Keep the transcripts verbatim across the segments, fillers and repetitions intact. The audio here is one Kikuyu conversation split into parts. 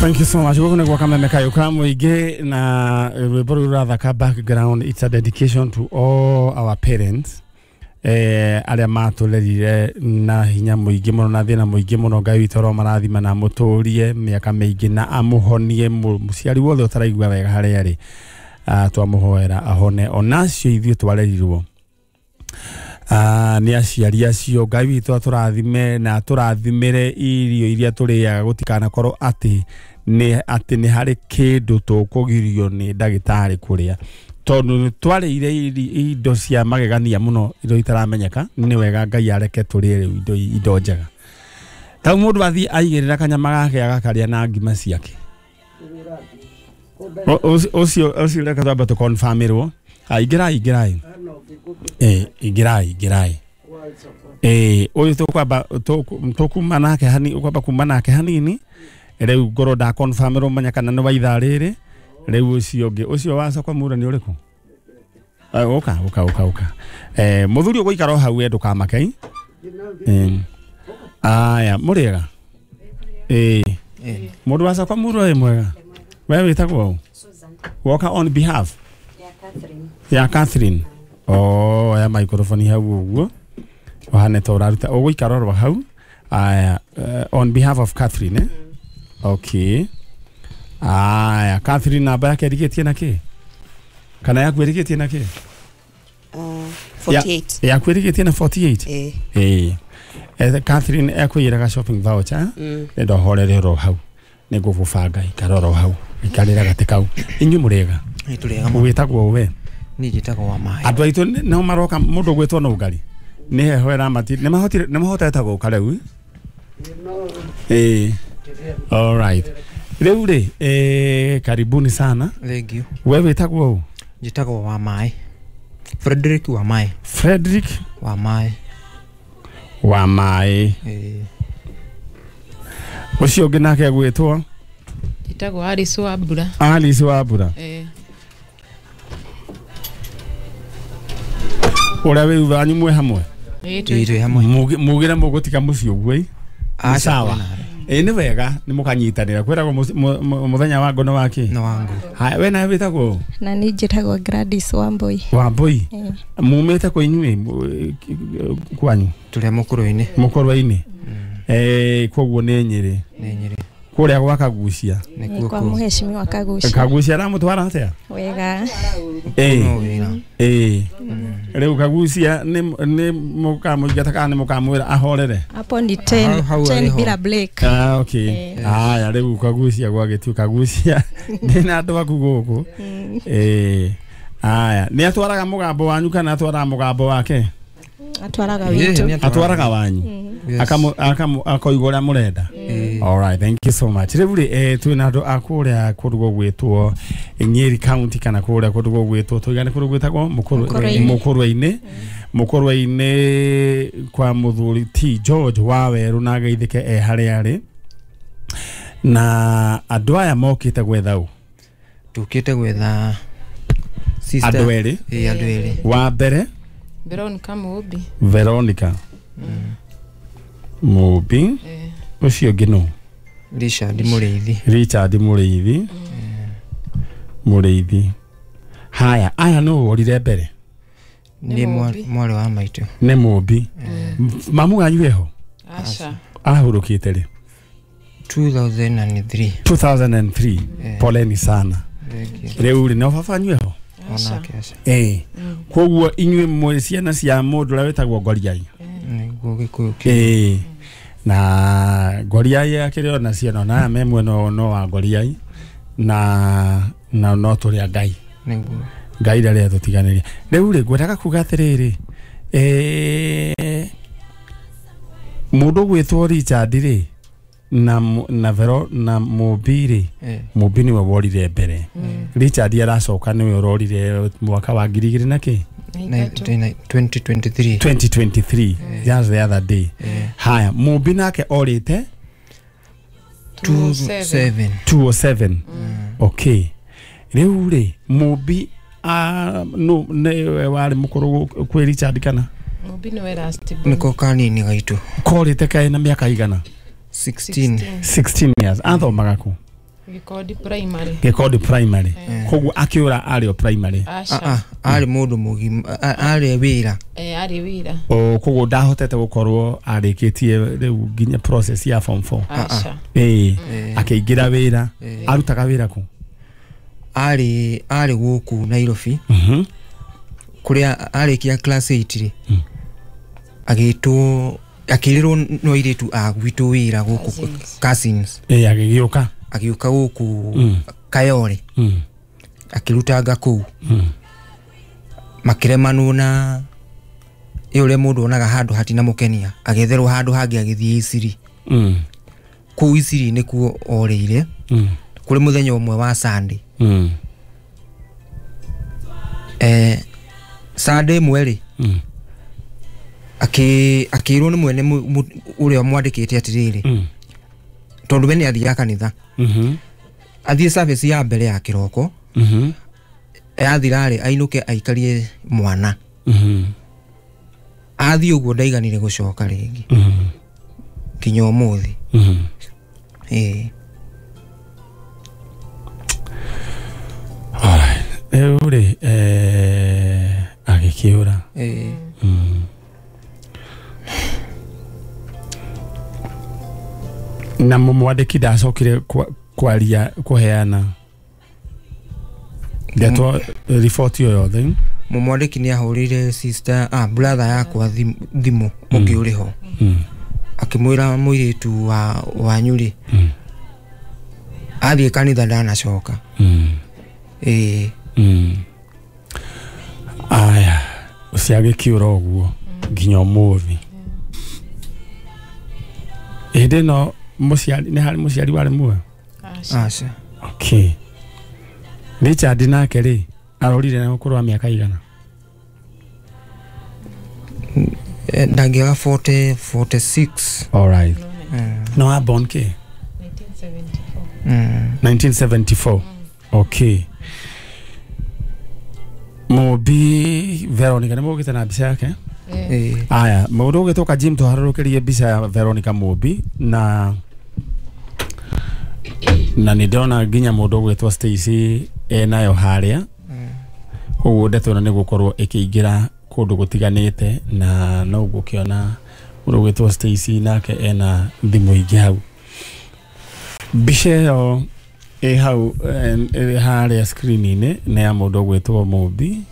Thank you so much. Gũkũ nĩ gwa Kameme Kayũ ka Mũingĩ na rwĩmbo rũrũ rũrathaka background. It's a dedication to all our parents eh, arĩa matũrerire na hinya mũingĩ mũno na thĩna mũingĩ mũno. Ngai witũ aromarathima na amũtũrie mĩaka mĩingĩ na amũhonie mũciari wothe ũtaraigua wega harĩa arĩ. Uh, twamũhoera ahone onacio ithuĩ twarerirwo Uh, nĩ aciari acio. Ngai witũ atũrathime na atũrathimĩre irio iria tũrĩaga, gũtikanakorwo atĩ nĩ atĩ nĩ harĩ kĩndũ tũkũgirio nĩ ndagĩtarĩ kũrĩa, tondũ nĩ twarĩire indo cia magegania mũno, indo itaramenyeka. Nĩ wega Ngai areke tũrĩe rĩu indo, indo njega. Tau mũndũ athiĩ aigĩrĩra kanyama gake agakarĩa na ngima ciake. Ũcio ũcio reke twambe tũconfirmĩrwo. Ingĩrai ingĩrai eh ingĩrai ingĩrai eh ũyũ tũkwamba tũkuma nake hani ũkwamba kuma nake hanini rĩu ngorwo nda confirmĩrwo manya kana nĩ wa ithaa rĩrĩ. Rĩu ũcio ũngĩ ũcio wa soko mura nĩ ũrĩkũ? Ũka ũka ũka ũka eh mũthuri ũgũikara o hau we ndũkamake. Eh aya mũrĩega eh mũndũ wa soko mura ĩ mwega we wĩtagwo woka on behalf ya Catherine. Oh, ya microphone hau ũguo wahane ta ũraruta ũgũikara oro hau. Aya, uh, on behalf of Catherine eh? Okay. Aya, Catherine namba yake ĩrigĩtie na kĩ? Kana yaku ĩrigĩtie na kĩ? Uh, forty-eight. Ya, yaku ĩrigĩtie na forty-eight? Eh. Eh. Eh, Catherine ekwĩraga shopping voucher. Mm. Nĩ ndohorere oro hau. Nĩ ngũgũbanga ikara oro hau. Ikarĩra gatĩ kau. Inyuĩ mũrĩega? Ĩ tũrĩega mũno. Wĩtagwo we? Niĩ njĩtagwo wa Maĩ. Andũ aitũ no maroka mũndũ gwĩtwo no ngari. Nĩ heho ĩramati nĩ mahotire nĩ mahotete gũka rĩu. Eh. All right. Rĩu rĩ eh karibuni sana. Thank you. We wĩtagwo ũ? Njĩtagwo wa Maĩ. Frederick wa Maĩ. Frederick wa Maĩ. Wa Maĩ. Eh. Ũcio ũngĩ nake gwĩtwo? Njĩtagwo Alice wa Mbura. Alice wa Mbura. Eh. Ũrĩa wĩ thutha wanyu mwĩ hamwe? Ĩ twĩ hamwe. Mugire mũgũtiga mũciĩ ũguo ĩ? Sawa. Ĩ nĩ wega nĩ mũkanyitanĩra kwĩragwo mũthenya wa ngono wa kĩ? Nĩ wa ngũ. Haya we nawe wĩtagwo? Na niĩ njĩtagwo Gladys Wambui. Wambui. Mumĩte kũ inyuĩ kwanyu? Tũrĩ a Mũkũrwe-inĩ. Mũkũrwe-inĩ. Eh koguo nĩ Nyĩrĩ. Nĩ Nyĩrĩ. Kũrĩa gwa Kagucia. Nĩ kwa mũheshimiwa Kagucia. Kagucia aramũtwara atĩa? Wega. Eh. Eh. Rĩu Kagucia nĩ nĩ mũkamũingata kana nĩ mũkamwĩra ahorere? Hapo ni ten ten bila break. Ah okay. Haya rĩu Kagucia gwagĩtu Kagucia ndĩna andũ aku gũkũ. Eh. Haya nĩ atwaraga mũgambo wanyu kana atwaraga mũgambo wake? Atwaraga witũ. Atwaraga wanyu. Akamu akamu akoiga ũrĩa mũrenda. All right, thank you so much. Rĩu rĩ eh twĩna andũ a kũrĩa kũndũ gũgwĩtwo Nyeri County kana kũrĩa kũndũ gũgwĩtwo tũigane kũndũ gwĩtagwo Mũkũrwe-inĩ. Mũkũrwe-inĩ kwa mũthuri T George wa Werũ na geithĩke e harĩa arĩ. Na andũ aya mokĩte gwetha ũ? Tũkĩte gwetha sister. Andũ erĩ? Ĩ andũ erĩ. Wa mbere Veronica Mũmbi. Veronica Mũmbi. Ũcio ũngĩ nũ? Richard Mũrĩithi. Richard Mũrĩithi. Mũrĩithi. Haya, aya nũ worire mbere? Nĩ mwarĩ wa maitũ. Nĩ Mũmbi. Mamu wanyu eho? Aca. Ahurũkĩte rĩ? two thousand three. two thousand three. Poleni sana. Rĩu rĩ no baba wanyu eho? Onake aca. Eh. Koguo inyuĩ mwĩ ciana cia mũndũ ũrĩa wĩtagwo Ngoriai. Nĩguo Gĩkũyũ kĩ. Eh. Na Ngoriai akĩrĩ ona ciana na me mwena no wa Ngoriai na na no tũrĩ a Ngai. Nĩguo. Ngai ndarĩ atũtiganĩria. Rĩu rĩ ngwendaga kuga atĩrĩrĩ eh mũndũ gwĩtwo Richard rĩ na na Vero na Mũmbi rĩ Mũmbi nĩwe worire mbere. Richard aracoka nĩwe ũrorire mwaka wa ngiri igĩrĩ na kĩ? twenty twenty-three. twenty twenty-three. Just the other day. Haya, Mũmbi nake orĩte two oh seven. two oh seven. Okay. Rĩu rĩ Mũmbi ah no nĩwe warĩ mũkũrũ kwĩ Richard kana? Mũmbi nĩwe last born. Nĩko kanini gaitũ. Korĩte kaĩ na mĩaka igana? sixteen. sixteen years. Athomaga kũ? Gikondi primary. Gikondi primary. Koguo akiura ari o primary. Ah ah ari mundu mugima ari wira. Eh ari wira. O koguo ndahotete gukorwo arikitie riu nginya process ya form four. Aca. Eh akiingira wira. Arutaga wira ku? Ari ari guku Nairobi. Mhm. Kuria arikia class eight ri. Agitwo akirirwo no iritu a gwitu wira guku cousins. Eh agigiuka. Agiuka guku Kayore. Mm. Akirutanga kuu. Mm. Makiremanwo na ä mundu onaga handu hatina mukenia agetherwo handu hangi agithie Isiri. Mm. Kuu Isiri nikuo oreire. Mm. Kuri muthenya umwe wa Sunday. Mm. Eh Sunday mweri. Mm. Aki akirwo ni mwene uria mwandikite atiriri. Mm. Tondu we ni athiaga kanitha. Mhm. Athie service ya mbere ya kiroko. Mhm. Yathirari ainuke aikarie mwana. Mhm. Athie uguo ndaiganire gucoka ringi. Mhm. Kinya umuthi. Mhm. Eh. Alright. Riu ri eh agikiura. Eh. Mhm. Na mumwandiki ndacokire kwaria kuheana ndeto report yo yothe. Mumwandiki ni ahurire sister ah brother yakwa thimu ungi uri ho. Akimwira muiritu wa wanyuri. Mm. Athie kanitha ndanacoka. Mm. Eh. Mm. Aya, ucio agikiura uguo nginya umuthi. Hindi no muciari ni hari muciari wari muoyo? Aca. Okay. Richard nake ri arorire na ukuru wa miaka igana? Ndangiaga forty, forty-six. All right. Mm. No a born ke? nineteen seventy-four. Mm. nineteen seventy-four. Mm. Okay. Mobi Veronica ni mugite na mbica yake? Eh. Aya, mundu ugituka Jim tuharurukirie mbica ya Veronica Mobi na na ni ndona nginya mundu ugwitwo Stacy enayo haria. Koguo ndeto ni gukorwo ikiingira kundu gutiganite na no gukiona mundu ugwitwo Stacy nake ena thimu ingi hau. Mbica ĩyo ĩ hau ĩ haria screen-inĩ nĩ ya mundu ugwitwo Mobi.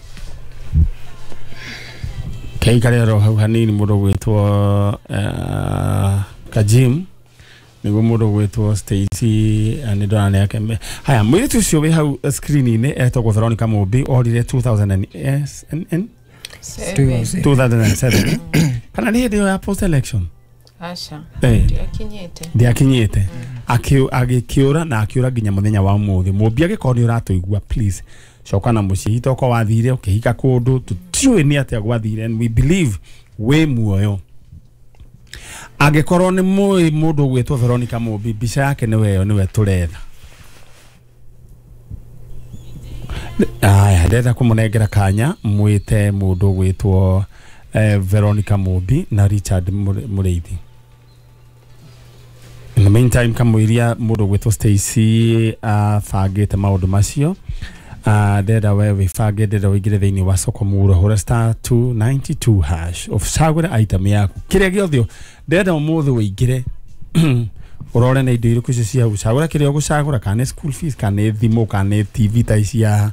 Keikare ro hau hanini mundu ugwitwo uh, Kajim niguo mundu ugwitwo Stacy ni ndona nĩ ake. Haya, mwiritu ucio wi hau screen-inĩ etagwo Veronica Mobi orire two thousand and seven. Kana nĩ hĩndĩ ĩyo ya post election? Aca. Eh. Ndiakinyite. Ndiakinyite. Agĩkĩũra na akĩũra nginya mũthenya wa ũmũthĩ. Mũmbi angĩkorwo nĩ ũratũigua please coka na mũciĩ itoko wathire ũkĩhika kũndũ tũtiũĩ nĩ atĩa gwathire and we believe wĩ muoyo. Angĩkorwo nĩ mũĩ mũndũ ũgwĩtwo Veronica Mobi mbica yake nĩwe ĩyo nĩwe tũretha. Aya, ndĩrenda kũmũnengera kanya mwĩte mũndũ ũgwĩtwo eh, Veronica Mobi na Richard Mũrĩithi. In the meantime kamũiria mũndũ ũgwĩtwo Stacy abangĩte maũndũ macio. Ndĩrenda we wĩbange, ndĩrenda ũingĩre thĩinĩ wa soko muro hũra star two ninety-two hash ũcagũre item yaku kĩrĩa gĩothe ndĩrenda ũmũthĩ ũingĩre ũrore na indo irĩkũ icio cia gũcagũra kĩrĩa ũgũcagũra, kana nĩ school fees, kana nĩ thimũ, kana nĩ T V ta ici haha.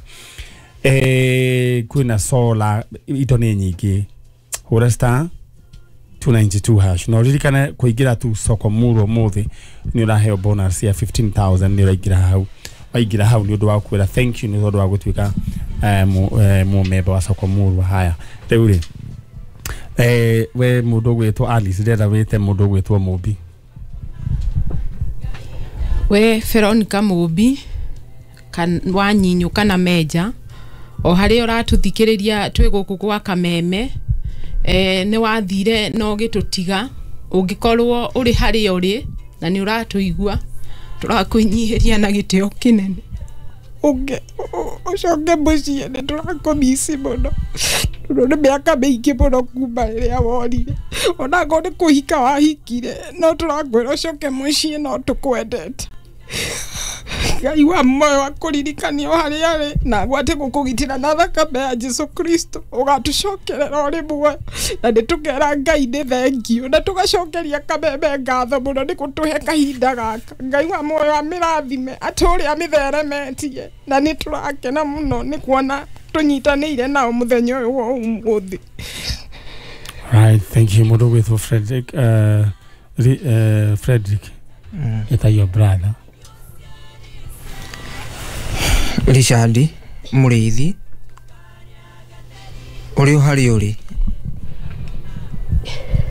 Eh, kwĩna solar, indo nĩ nyingĩ. Hũra star two ninety-two hash na ũririkane kũingĩra tu soko muro ũmũthĩ nĩ ũraheo bonus ya fifteen thousand nĩ ũraingĩra hau. Waingĩra hau nĩ ũndũ wa kwĩra thank you nĩ ũndũ wa gũtuĩka mũmemba wa soko murwa. Haya rĩu rĩ eh, we mũndũ ũgwĩtwo Alice ndĩrenda wĩte mũndũ ũgwĩtwo Mobi. We Veronica Mobi kan wa nyinyu kana meja o haria ũratũthikĩrĩria twĩ gũkũ gwa Kameme eh, nĩ wathire no gĩtũtiga ũngĩkorwo ũrĩ harĩa ũrĩ na nĩ ũratũigua tũrakwĩnyihĩria na gĩtĩo kĩnene ũnge ũcoke mũciĩ nĩ tũrakũmici mũno tondũ nĩ mĩaka mĩingĩ mũno kuma rĩrĩa worire onakorwo nĩ kũhika wahikire no tũrakwĩra ũcoke mũciĩ no tũkwendete. Ngai wa muoyo akũririkanie o harĩa arĩ na agwate gũkũgitĩra na thakame ya Jesu Kristo ũgatũcokerera ũrĩ muoyo na nĩ tũkera Ngai nĩ thengiũ na tũgacokeria Kameme ngatho mũno nĩ gũtũhe kahinda gaka. Ngai wa muoyo amĩrathime atũre amĩtheremetie na nĩ tũrakena mũno nĩ kuona tũnyitanĩire nao mũthenya ũyũ wa ũmũthĩ. Right, thank you mũndũ gwĩtwo Frederick uh, uh, Frederick mm. Eta your brother Richard Mũrĩithi ũrĩ o harĩa ũrĩ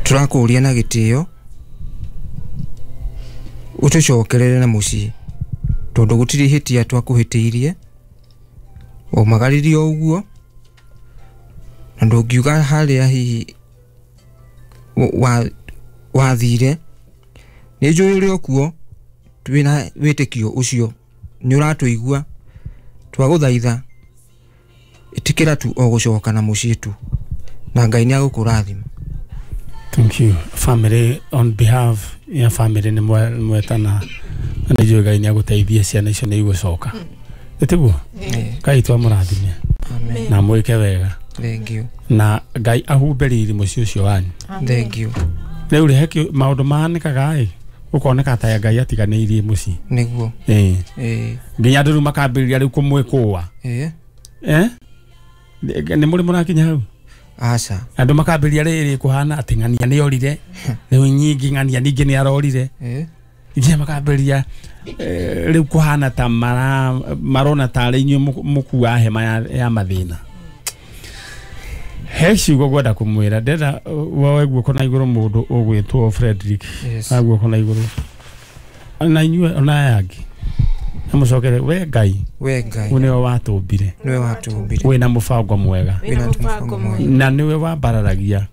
tũrakũria na gĩtĩo ũtũcokerere na mũciĩ tondũ gũtirĩ ihĩtia twakũhĩtĩirie waumagaririe o ũguo na ndũngiuga harĩa hihi wathire nĩ njũĩ ũrĩ o kuo twĩna wĩtĩkio ũcio nĩ ũratũigua twagũthaitha ĩtĩkĩra tu o gũcoka na mũciĩ tu na Ngai nĩ agũkũrathima. Thank you family on behalf ya family nĩ mwetana na nĩ njũĩ Ngai nĩ agũteithia ciana icio nĩ igũcoka ĩtiguo Ngai twamũrathime na mwĩke wega. Thank you. Na Ngai ahumbe riri mũciĩ ũcio wanyu. Thank you. Rĩu rĩ he maũndũ mahanĩkaga ĩ ũkoneka ta Ngai atiganĩirie mũciĩ nĩguo ĩĩ ĩĩ nginya andũ rĩu makambĩrĩria rĩu kũmwĩkũa ĩĩ eh nĩ mũrĩ mũrakinya hau aca andũ makambĩrĩria rĩrĩ kũhana atĩ ng'ania nĩ orire rĩu nyingĩ ng'ania ningĩ nĩ arorire ĩĩ nginya makambĩrĩria rĩu kũhana ta marona tarĩ inyuĩ mũkua hema ya mathĩna. He ciugo ngwenda kũmwĩra ndenda woe guoko na igũrũ mũndũ ũgwĩtwo Frederick na guoko na igũrũ na inyuĩ ona aya angĩ na mũcokere we Ngai we Ngai nĩwe watũmbire nĩwe watũmbire wĩna mũbango mwega wĩna mũbango mwega na nĩwe wambararagia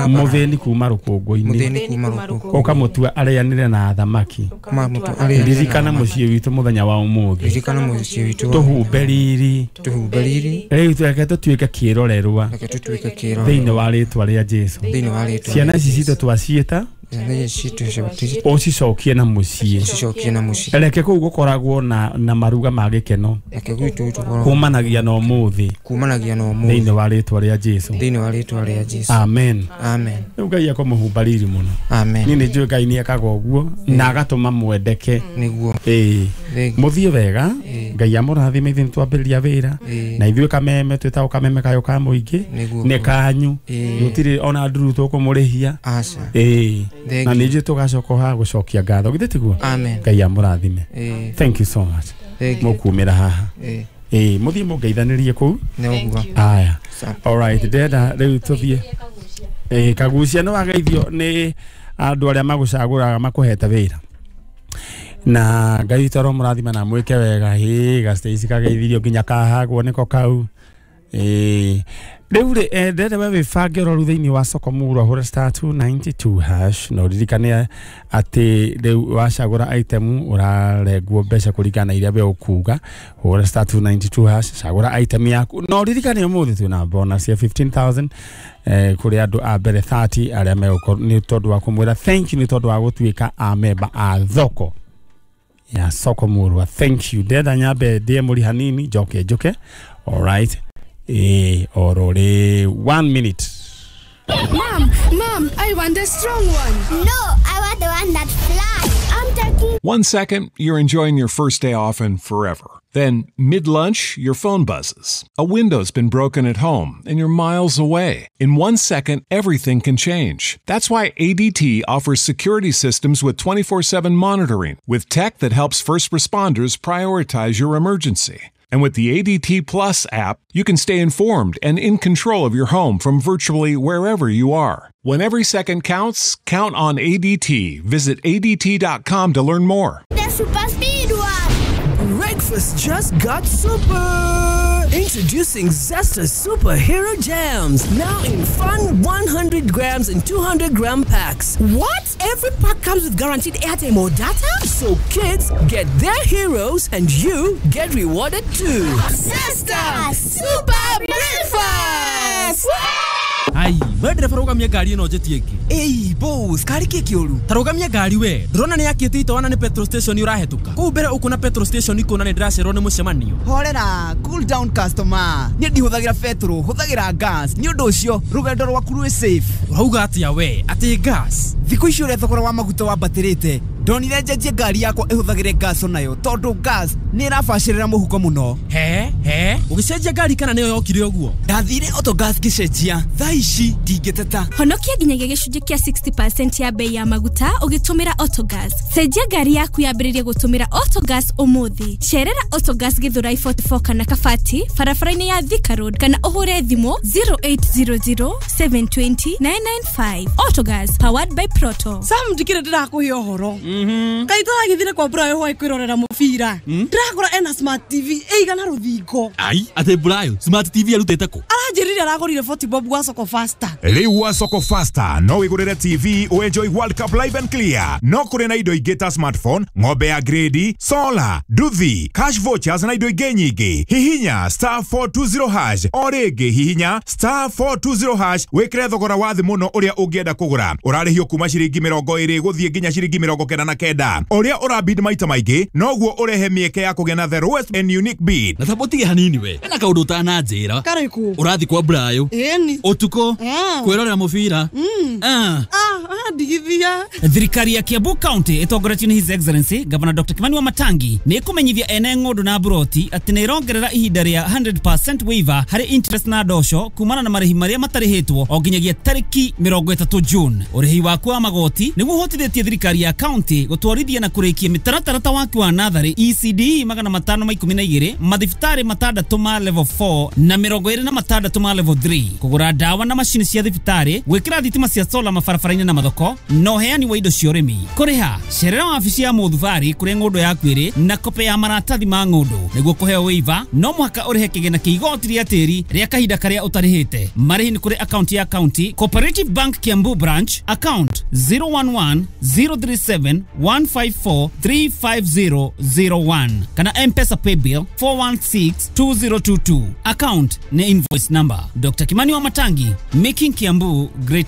mũthĩni kuma rũkũngũ-inĩ mũthĩni kuma rũkũngũ ũkamũtua arĩanĩre na athamaki ririkana mũciĩ witũ mũthenya wa ũmũthĩ ririkana mũciĩ witũ tũhumbe riri tũhumbe riri rĩu reke tũtuĩke kĩrorerwa reke tũtuĩke kĩrorerwa thĩinĩ wa rĩtwa rĩa Jesu thĩinĩ wa rĩtwa ciana ici citũ twaciĩta ũcicokie na mũciĩ ũcicokie na mũciĩ reke kũu gũkoragwo na na maruga ma gĩkeno reke gwitũ tũkorwo kumanagia na ũmũthĩ kumanagia na ũmũthĩ thĩinĩ wa rĩtwa rĩa Jesu thĩinĩ wa rĩtwa rĩa Jesu amen amen. Rĩu Ngai akũmũhumba riri mũno amen. Niĩ nĩ njũĩ Ngai nĩ ekaga ũguo na agatũma mwendeke nĩguo ĩĩ mũthiĩ wega Ngai amũrathime ithuĩ nĩtwambĩrĩria wĩra na ithuĩ Kameme twĩtagwo Kameme kayũ ka mũingĩ nĩ kanyu gũtirĩ ona nduru tũkũmũrĩhia aca ĩĩ na nĩ njũĩ tũgacoka haha gũcokia ngatho githĩ tiguo Ngai amũrathime. Thank you so much mũkumĩra haha ĩĩ mũthiĩ mũngeithanĩrie kũu aya all right ndĩrenda rĩu tũthiĩ ĩĩ Kagucia nĩ wageithio nĩ andũ arĩa magũcagũraga makũhete wĩra na Ngai witũ aromũrathima na mwĩke wega ĩĩ Gastacy kageithirio nginya kahagwo nĩko kau ĩĩ rĩu rĩ ndĩrenda we wĩbange ũroru thĩinĩ wa soko murwa hũra star two ninety two hash na ũririkane atĩ rĩu wacagũra item ũrarengwo mbeca kũringana na iria we ũkuga hũra star two ninety two hash cagũra item yaku na ũririkane ũmũthĩ twĩna bonus ya fifteen thousand eh, kũrĩ andũ a mbere thirty arĩa megũkorwo nĩ tondũ wa kũmwĩra thank you nĩ tondũ wa gũtuĩka a memba a thoko ya soko murwa. Thank you ndĩrenda nyambe ndĩe mũri hanini njoke njoke all right Eh, orore one minute. Mom, Mom, I want the strong one. No, I want the one that flies. I'm taking. One second, you're enjoying your first day off and forever. Then, mid-lunch, your phone buzzes. A window's been broken at home, and you're miles away. In one second, everything can change. That's why A D T offers security systems with twenty-four seven monitoring, with tech that helps first responders prioritize your emergency. And with the A D T Plus app, you can stay informed and in control of your home from virtually wherever you are. When every second counts, count on A D T. Visit A D T dot com to learn more. The super speed one! Breakfast just got super! Introducing Zesta Superhero Jams, now in fun one hundred grams and two hundred gram packs. What? Every pack comes with guaranteed airtime or data? So kids get their heroes and you get rewarded too. Zesta Super Breakfast! Ai, we ndereba rũgamia ngari ĩno njĩtie ĩngĩ. Ĩi boss, kari kĩ kĩũru? Ta rũgamia ngari we. Ndũrona nĩ yakĩte itawa na nĩ petrol station ũrahĩtũka. Kũu mbere ũkuona petrol station ikũna nĩ ndĩracererwo nĩ mũcemanio. Horera, cool down customer. Niĩ ndihũthagĩra petrol, hũthagĩra gas. Nĩ ũndũ ũcio rũgendo rwaku rwĩ safe. Ũrauga atĩa we? Atĩ gas? Thikũ ici ũrĩa thogora wa maguta wambatĩrĩte, ndonire njenjie ngari yakwa ĩhũthagĩre gas onayo tondũ gas nĩ ĩrabacĩrĩra mũhuko mũno. He he, ũgĩcenjia ngari kana nĩyo yokire ũguo? Ndathire Autogas ngĩcenjia, thaa ici ndingĩteta. Honokia nginyagia gĩcunjĩ kĩa sixty percent ya bei ya maguta ũgĩtũmĩra Autogas. Cenjia ngari yaku yambĩrĩrie gũtũmĩra Autogas ũmũthĩ. Cerera Autogas Githurai forty-four kana Kabati barabara-inĩ ya Thika Road kana ũhũre thimũ zero eight zero zero seven two zero nine nine five. Autogas powered by Proto. Sam ndikire ndĩrakũhe ũhoro. Kai tũragĩthire kwa Brayo hwaĩ kwĩrorera mũbira. Ndĩrakora ena smart T V ĩigana rũthingo. Ai, atĩ Brayo smart T V arutĩte kũ? Aranjĩrire aragũrire forty bob gwa Soko Faster. Rĩu gwa Soko Faster no wĩgũrĩre T V ũenjoy World Cup live and clear. No kũrĩ na indo ingĩ ta smartphone, ng'ombe ya grade, solar, nduthi, cash vouchers na indo ingĩ nyingĩ. Hihinya star four two zero hash o rĩngĩ hihinya star four two zero hash wĩkĩre thogora wa thĩ mũno ũrĩa ũngĩenda kũgũra. Ũrarĩhio kuma ciringi mĩrongo ĩrĩ gũthiĩ nginya ciringi mĩrongo kenda na kenda. Ũrĩa ũrabid maita maingĩ noguo ũrehe mĩeke ya kũgĩa na the lowest and unique bid. Na tabo tige hanini we. Ena kaũndũ ũtananjĩra. Karĩkũ? Ũrathi kwa Brayo. Ĩni. Ũtukũ. Kwĩrorera mũbira. Ah. Ah, ndigithia. Thirikari ya Kiambu County ĩtongoretio nĩ His Excellency Governor Doctor Kimani Wamatangi nĩ ĩkũmenyithia ene ng'ũndũ na mburoti atĩ nĩ ĩrongerera ihinda rĩa hundred percent waiver harĩ interest na ndosho kumana na marĩhi marĩa matarĩhĩtwo o nginyagia tarĩki mĩrongo ĩtatũ June. Ũrĩhi waku wa magoti nĩguo ũhotithĩtie thirikari ya county gũtwarithia na kũrĩkia mĩtaratara ta waki wa natharĩ E C D magana matano ma ikũmi na igĩrĩ mathibitarĩ matandatũ ma level four na mĩrongo ĩrĩ na matandatũ ma level three kũgũra ndawa na macini cia thibitarĩ gwĩkĩra thitima cia solar mabarabara-inĩ na mathoko na ũheani wa indo cia ũrĩmi. Kũrĩha cerera wabici ya mũthubarĩ kũrĩa ng'ũndũ yaku ĩrĩ na kope ya maratathi ma ng'ũndũ. Nĩguo kũheo waiver no mũhaka ũrĩhe kĩgĩna kĩa igoti rĩa tĩri rĩa kahinda karĩa ũtarĩhĩte. Marĩhi nĩ kũrĩ akaunti ya county Cooperative Bank Kiambu branch account zero one one zero three seven one five four three five zero zero one kana M-Pesa paybill four one six two zero two two. Account ni invoice number. Doctor Kimani Wamatangi, making Kiambu great.